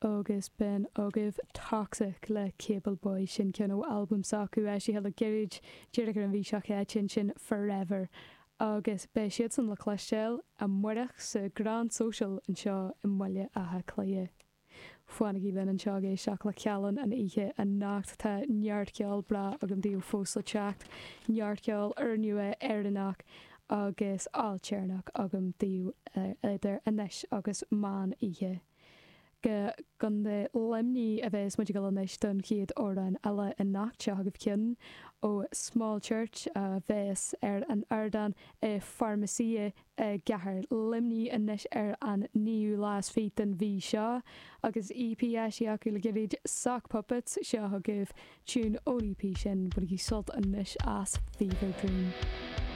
Agus b'in agaibh Toxic le Cable Boy, sin ceann ó albam s'acu eisithe le gairid, díreach ar an mhí seo chaite ansin, Forever. Agus beidh siadsan le cloisteáil amárach sa Grand Social anseo i mBaile Átha Cliath. Fanaigí linn anseo ag éisteacht le Callán an oíche anocht. Tá neart ceol breá agam daoibh fós le teacht, neart ceol úrnua Éireannach agus ailtéarnach agam daoibh idir anois agus meán oíche. Go gContae Luimnigh a bheas muid ag dul anois don chéad amhrán eile anocht. Seo chugaibh ceann ó Small Church a bheas ar an ardán i Pharmacia i gcathair Luimnigh anois ar an naoú lá is fiche den mhí seo. Agus EP eisithe acu le gairid, Sock Puppets, seo chugaibh tiún ón EP sin. Bainigí sult anois as Fever Dream.